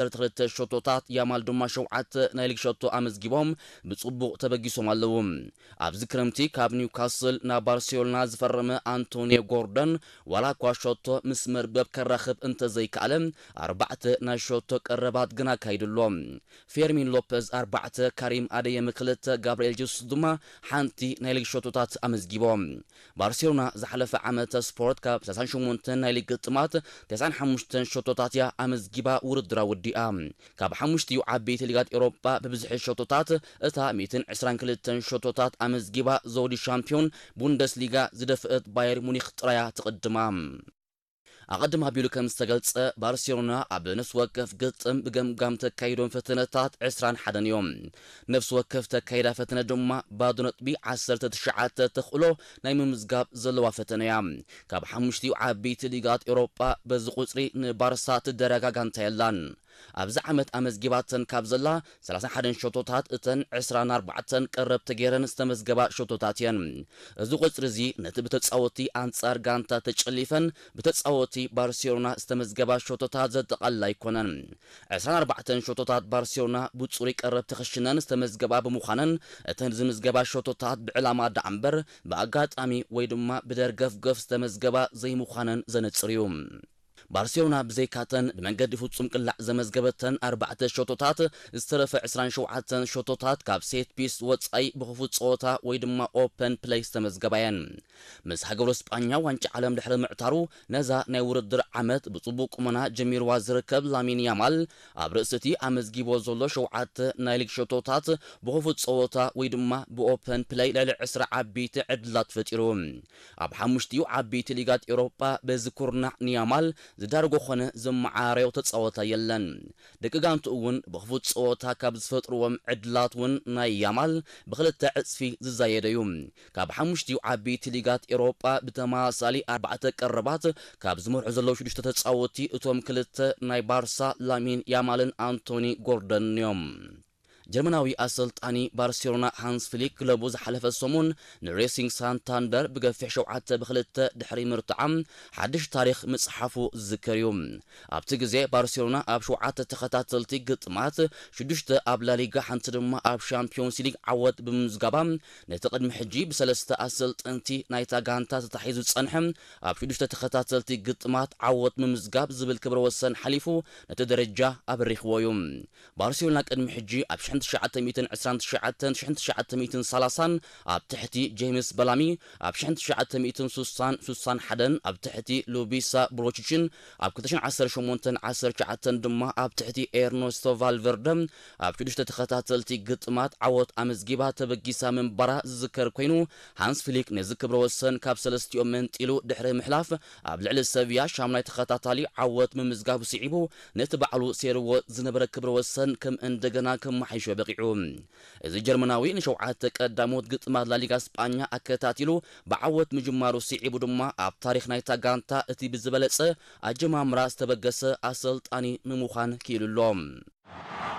ዓሰርተ ክልተ ሸቶታት፣ ያማል ድማ ሸውዓተ ናይ ሊግ ሸቶ ኣመዝጊቦም ብጽቡቕ ተበጊሶም ኣለዉ። ኣብዚ ክረምቲ ካብ ኒውካስል ናብ ባርሴሎና ዝፈረመ ኣንቶኒዮ ጎርደን፣ ዋላ እኳ ሸቶ ምስ መርበብ ከራኽብ እንተዘይከኣለ፣ ኣርባዕተ ናይ ሸቶ ቀረባት ግን ኣካይዱ ኣሎ። ፌርሚን ሎፐዝ ኣርባዕተ፣ ካሪም ኣደየም ክልተ፣ ጋብርኤል ጀሱስ ድማ ሓንቲ ናይ ሊግ ሸቶታት ኣመዝጊቦም። ባርሴሎና ዝሓለፈ ዓመተ ስፖርት ካብ ሰላሳን ሸሞንተን ናይ ሊግ ግጥማት ተስዓን ሓሙሽተን ሸቶታት እያ ኣመዝጊባ ውድድራ ወዲኣ። ካብ ሓሙሽቲኡ ዓበይቲ ሊጋት ኤውሮጳ ብብዝሒ ሸቶታት እታ ሚእትን ዕስራን ክልተን ሸቶታት ኣመዝጊባ ዘውዲ ሻምፒዮን ቡንደስሊጋ ዝደፍአት ባየር ሙኒክ ጥራያ ትቕድማ። ኣቐድም ኣቢሉ ከም ዝተገልጸ፣ ባርሴሎና ኣብ ነፍሲ ወከፍ ግጥም ብገምጋም ተካይዶም ፈተነታት ዕስራን ሓደን እዮም። ነፍሲ ወከፍ ተካይዳ ፈተነ ድማ ባዶ ነጥቢ ዓሰርተ ትሽዓተ ተኽእሎ ናይ ምምዝጋብ ዘለዋ ፈተነ እያ። ካብ ሓሙሽቲኡ ዓበይቲ ሊጋት ኤውሮጳ በዚ ቁጽሪ ንባርሳ ትደረጋ ጋንታ የላን። ኣብዚ ዓመት ኣመዝጊባተን ካብ ዘላ ሰላሳን ሓደን ሸቶታት፣ እተን ዕስራን ኣርባዕተን ቀረብቲ ገይረን ዝተመዝገባ ሸቶታት እየን። እዚ ቁጽሪ እዚ ነቲ ብተጻወትቲ ኣንጻር ጋንታ ተጨሊፈን ብተጻወትቲ ባርሴሎና ዝተመዝገባ ሸቶታት ዘጠቓልል ኣይኮነን። ዕስራን ኣርባዕተን ሸቶታት ባርሴሎና ብጹሩይ ቀረብቲ ክሽነን ዝተመዝገባ ብምዃነን፣ እተን ዝምዝገባ ሸቶታት ብዕላማ ደኣ እምበር ብኣጋጣሚ ወይ ድማ ብደርገፍገፍ ዝተመዝገባ ዘይምዃነን ዘነጽር እዩ። ባርሴሎና ብዘይካተን ብመንገዲ ፍጹም ቅላዕ ዘመዝገበተን ኣርባዕተ ሸቶታት፣ ዝተረፈ ዕስራን ሸውዓተን ሸቶታት ካብ ሴት ፒስ ወጻኢ ብኽፉት ጸወታ ወይ ድማ ኦፐን ፕለይ ዝተመዝገባ እየን። ምስ ሃገሩ ስጳኛ ዋንጫ ዓለም ድሕሪ ምዕታሩ፣ ነዛ ናይ ውድድር ዓመት ብጽቡቕ ቁመና ጀሚርዋ ዝርከብ ላሚን ያማል፣ ኣብ ርእሲ እቲ ኣመዝጊቦ ዘሎ ሸውዓተ ናይ ሊግ ሸቶታት ብኽፉት ጸወታ ወይ ድማ ብኦፐን ፕለይ ልዕሊ ዕስራ ዓበይቲ ዕድላት ፈጢሩ። ኣብ ሓሙሽቲኡ ዓበይቲ ሊጋት ኤውሮጳ በዚ ኩርናዕ ንያማል ዝዳርጎ ኾነ ዘመዓራረዮ ተጻወታይ የለን። ደቂ ጋንትኡ እውን ብኽፉት ጸወታ ካብ ዝፈጥርዎም ዕድላት እውን ናይ ያማል ብኽልተ ዕጽፊ ዝዛየደ እዩ። ካብ ሓሙሽቲኡ ዓበይቲ ሊጋት ኤውሮጳ ብተመሳሳሊ ኣርባዕተ ቀረባት ካብ ዝመርሑ ዘለዉ ሽዱሽተ ተጻወትቲ፣ እቶም ክልተ ናይ ባርሳ ላሚን ያማልን ኣንቶኒ ጎርደንን እዮም። ጀርመናዊ ኣሰልጣኒ ባርሴሎና ሃንስ ፍሊክ ክለቡ ዝሓለፈ ሰሙን ንሬሲንግ ሳንታንደር ብገፊሕ ሸውዓተ ብክልተ ድሕሪ ምርትዓም ሓድሽ ታሪኽ ምጽሓፉ ዝዝከር እዩ። ኣብቲ ግዜ ባርሴሎና ኣብ ሸውዓተ ተኸታተልቲ ግጥማት፣ ሽዱሽተ ኣብ ላሊጋ፣ ሓንቲ ድማ ኣብ ሻምፒዮንስ ሊግ ዓወት ብምምዝጋባ፣ ነቲ ቅድሚ ሕጂ ብሰለስተ ኣሰልጠንቲ ናይታ ጋንታ ተታሒዙ ዝጸንሐ ኣብ ሽዱሽተ ተኸታተልቲ ግጥማት ዓወት ምምዝጋብ ዝብል ክብረ ወሰን ሓሊፉ ነቲ ደረጃ ኣብሪኽዎ እዩ። ባርሴሎና ቅድሚ ሕጂ ኣብ ሽሕን ትሽዓተ ሚእትን ዕስራን ትሽዓተን፣ ሽሕን ትሽዓተ ሚእትን ሰላሳን ኣብ ትሕቲ ጄምስ በላሚ፣ ኣብ ሽሕን ትሽዓተ ሚእትን ስሳን፣ ስሳን ሓደን ኣብ ትሕቲ ሉቢሳ ብሮቺችን፣ ኣብ ክልተ ሽሕን ዓሰርተ ሸሞንተን ዓሰርተ ትሽዓተን ድማ ኣብ ትሕቲ ኤርነስቶ ቫልቨርደ ኣብ ሽዱሽተ ተኸታተልቲ ግጥማት ዓወት ኣመዝጊባ ተበጊሳ ምንባራ ዝዝከር ኮይኑ፣ ሃንስ ፍሊክ ነዚ ክብረ ወሰን ካብ ሰለስቲኦም መንጢሉ ድሕሪ ምሕላፍ፣ ኣብ ልዕሊ ሰቪያ ሻምናይ ተኸታታሊ ዓወት ምምዝጋቡ ስዒቡ፣ ነቲ ባዕሉ ሴርዎ ዝነበረ ክብረ ወሰን ከም እንደገና ከመሓይሾ በቒዑ። እዚ ጀርመናዊ ንሸውዓተ ቀዳሞት ግጥማት ላሊጋ ስጳኛ ኣከታቲሉ ብዓወት ምጅማሩ ስዒቡ ድማ፣ ኣብ ታሪኽ ናይታ ጋንታ እቲ ብዝበለጸ ኣጀማምራ ዝተበገሰ ኣሰልጣኒ ንምዃን ክኢሉ ኣሎ።